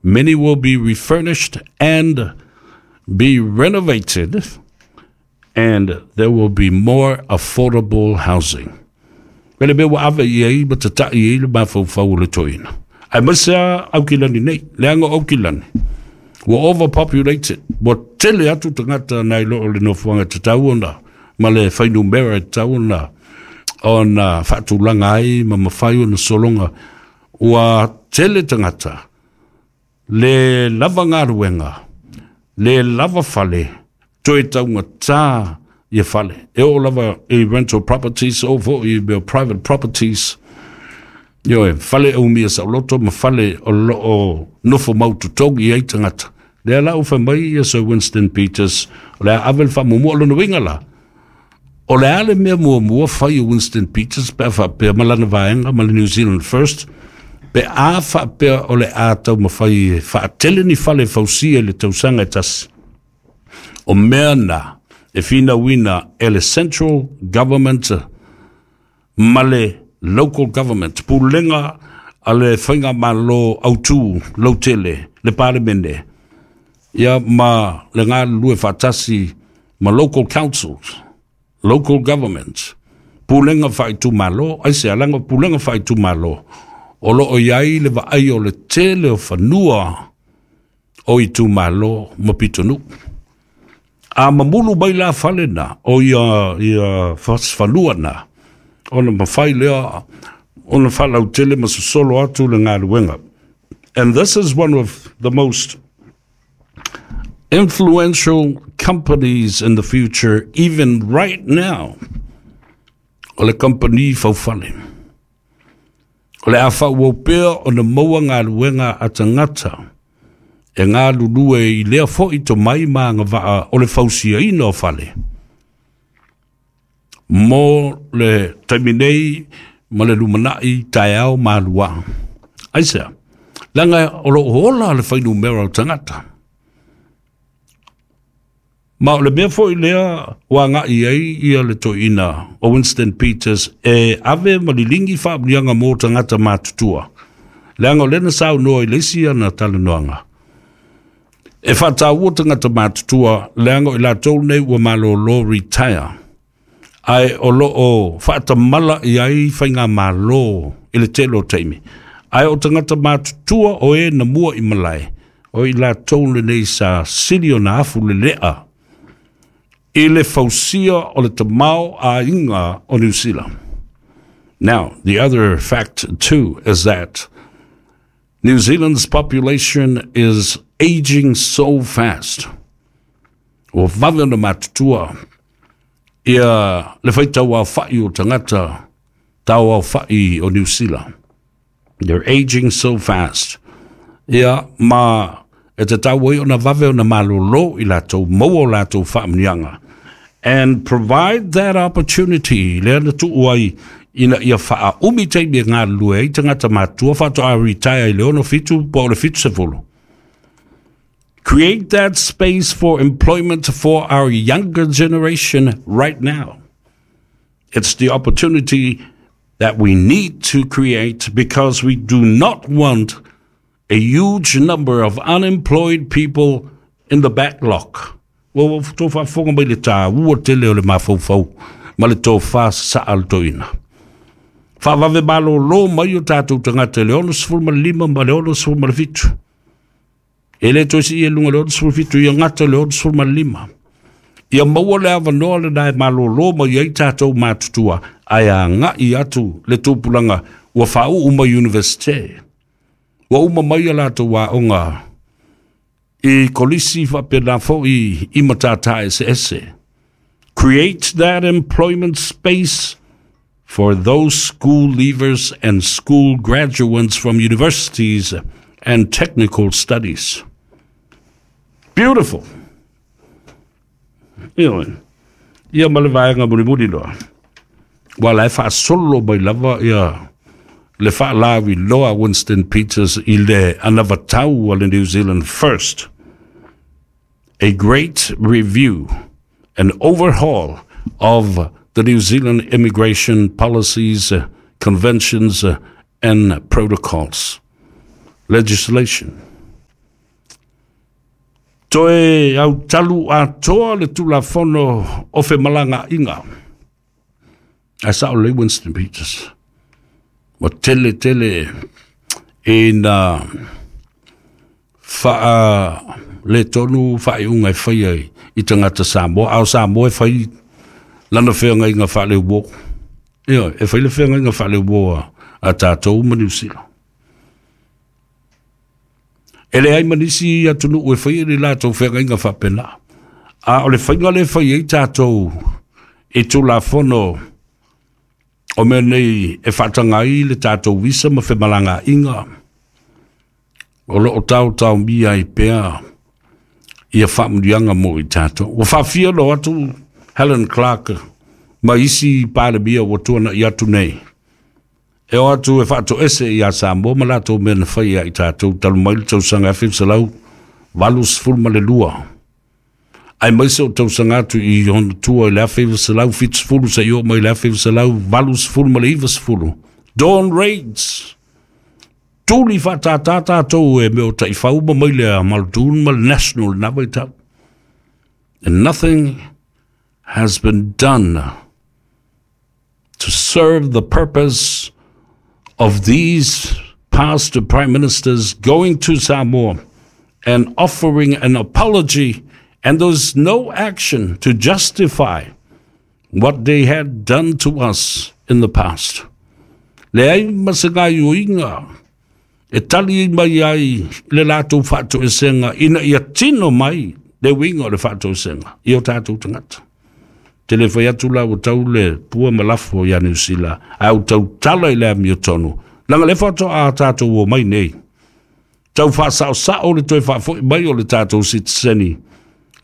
Many will be refurnished and be renovated, and there will be more affordable housing. Pele le mea ua ave i ai ma tata'i ai le mafaufau o le toeaina. Aemaise lava Aukilani nei, leaga o Aukilani ua overpopulated, ua tele atu tagata nai lo o le nofoaga e tatau ona ma le fuainumera e tatau ona ona faatulaga ai ma mafai ona sologa. Ua tele tagata, le lava galuega, le lava fale, toe taugata ia fale. E oo lava i rental properties, oo foi i mea private properties, ioe, fale e umia saoloto ma fale o lo o nofo mau totogi ai tagata. Lea la ua fai mai ia Sir Winston Peters, o le a ave le faamuamua. O lona uiga la, o le a le mea muamua fai e Winston Peters pe a faapea ma lana vaega ma le New Zealand First, pe a faapea o le a taumafai e faatele ni fale e fausia i le tausaga e tasi? O mea na e finauina e le Central Government ma le Local Government, pulega a le Faigamalo Autu Lautele, le Palemene, ia ma le galulue faatasi ma local councils, local governments, pulega faaitumalo, aisea? Leaga o pulega faaitumalo o lo o i ai le vaai o le tele o fanua o itumalo ma pitonuu. A mamulu mai la fale na, o ia, ia fanua na, ona mafai lea ona faalautele ma sosolo atu le galuega. And this is one of the most influential companies in the future, even right now, o le kamupani faufale. O le a faaauau pea ona maua galuega a tagata e galulue i lea foi tomai ma agavaa o le fausiaina o fale. Mo le taimi nei ma le lumanai taeao ma aluā. Aisea? Leaga o lo o ola le fuainumera o tagata. Ma o le mea foi lea ua agai ai ia le toeaina o Winston Peters e ave ma liligi faamanuiaga mo tagata matutua. Leaga o lea na saunoa i le isi ana talanoaga, e faataua tagata matutua leaga o i latou nei ua malolo retire, ae o lo o faatamala i ai faigamalo i le tele o taimi. Ae o tagata matutua o e na mua i malae, o i latou lenei sa sili ona afu lelea i le fausia o le tamaoaiga o Niu Sila. Now, the other fact too is that New Zealand's population is aging so fast. Ua vave ona matutua ia le faitau aofa'i o tagata tau aofa'i o Niu Sila. They're aging so fast. Ia, ma e tatau ai ona vave ona malolo i latou, maua o latou faamanuiaga. And provide that opportunity, lea na tuu ai ina ia faaumi taimi e galulue ai tagata matutua faatoa retire i le 67 po o le 70. Create that space for employment for our younger generation right now. It's the opportunity that we need to create because we do not want a huge number of unemployed people in the backlog. Ua ua outou faafofoga mai le taua tele o le mafaufau ma le tofa sasaa o le toeaina. Faavave malolo mai o tatou tagata i le 65 ma le 67. E le toe sii i luga i le 67, ia gata i le 65. Ia maua le avanoa lena e malolo mai ai tatou matutua, ae agai atu le tupulaga ua faauu mai Universite. Ua uma mai a latou aoga i kolisi faapena foi i matata eseese. Create that employment space for those school leavers and school graduates from universities and technical studies. Beautiful. Ioe. Ia ma le vaega mulimuli loa. Ua la e faasolo mai lava ia le faalauiloa Winston Peters i le anavatau a le New Zealand First. A great review and overhaul of the New Zealand immigration policies, conventions and protocols. Legislation. Toe autalu atoa le Tulafono o Femalagaaiga. Ae sao lelei Winston Peters. Ua tele tele ina faaletonu faaiuga e faia i tagata Samoa, a o Samoa e fai lana feagaiga faaleuo. Ioe, e fai le feagaiga faaleuo a tatou ma Niu Sila. E leai ma nisi atunuu e faia ni latou feagaiga faapena. A o le faiga lea e fai ai tatou i Tulafono o mea nei e faataga ai le tatou visa ma femalagaaiga, o lo o taotaomia ai pea ia faamanuiaga mo i tatou. Ua faafia ona o atu Helen Clark ma isi Palemia ua tuanai atu nei, e o atu e faatoese ia Samoa ma latou mea na fai ia i tatou talu mai le tausaga 1982, aemaise o tausaga atu i ona tua i le 1970 seia oo mai i le 1980 ma le 90. Dawn Raids, tuli faatātā tatou e mea o taifau ma maile a Muldoon ma le National i na vaitau. And nothing has been done to serve the purpose of these past prime ministers going to Samoa and offering an apology, and there's no action to justify what they had done to us in the past. Leai ma se gaioiga e tali mai ai le latou faatoesega ina ia tino mai le uiga o le faatoesega i o tatou tagata. Te le fai atu la ua tau le pua ma lafo ia Niu Sila, ae ua tautala i le amiotonu, leaga le faatoa tatou o mai nei. Tau faasaosao le toe faafoi mai o le tatou sitiseni,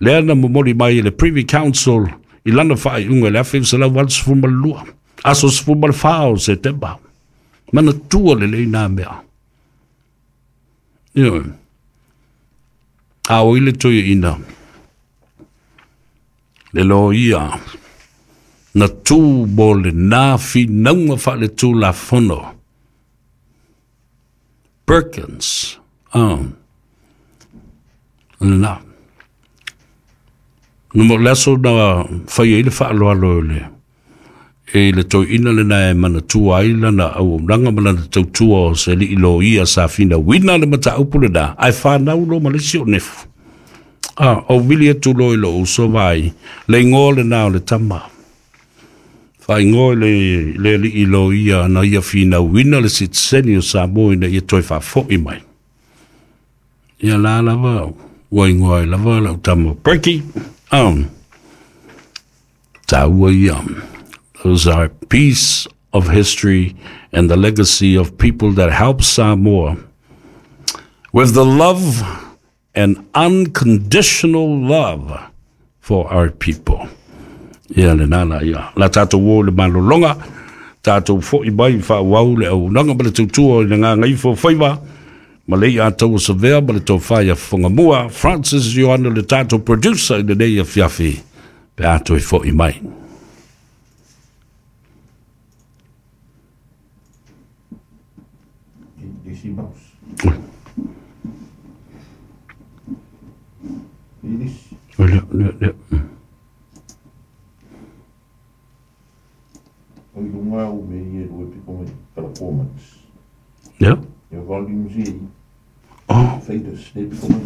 lea na momoli mai e le Privy Council i lana faaiuga i le 1982, aso 14 o Setema. Manatua lelei nā mea. Ioe. A o i le toeaina, le loia na tū mo lenā finauga faaletulafono. Perkins. Oh. Lena. No mo le aso na fai ai le faaaloalo i le e le toeaina lena e manatua ai lana auaunaga ma lana tautua o se alii loia sa finauina le mataupu lena, ae fanau loa ma le isi o nefu. Ah, o vili atu loa i lou uso vaai, le igoa lena o le tama. Faaigoa i le, le alii loia na ia finauina le sitiseni o Samoa ina ia toe faafoi mai. Ia la lava, ua igoa ai lava lau tama Perky. Tāua ia. Those are piece of history and the legacy of people that helped Samoa with the love and unconditional love for our people. Ia le nā ia. La tātou o le malolonga, tātou fo'i mai whaauau le auaunaga ma le tautua i le gagaifo faiva, ma le ia taua savea ma le tofa ia Fofogamua, Francis Ioane le tātou producer i lenei afiafi, pe a toe fo'i mai. Isi mouse. Iris. Lea, lea, lea. O i lunga au me i e rua piko mai performance. Yeah. Ia volume Z. Oh. Faders, ne piko mai.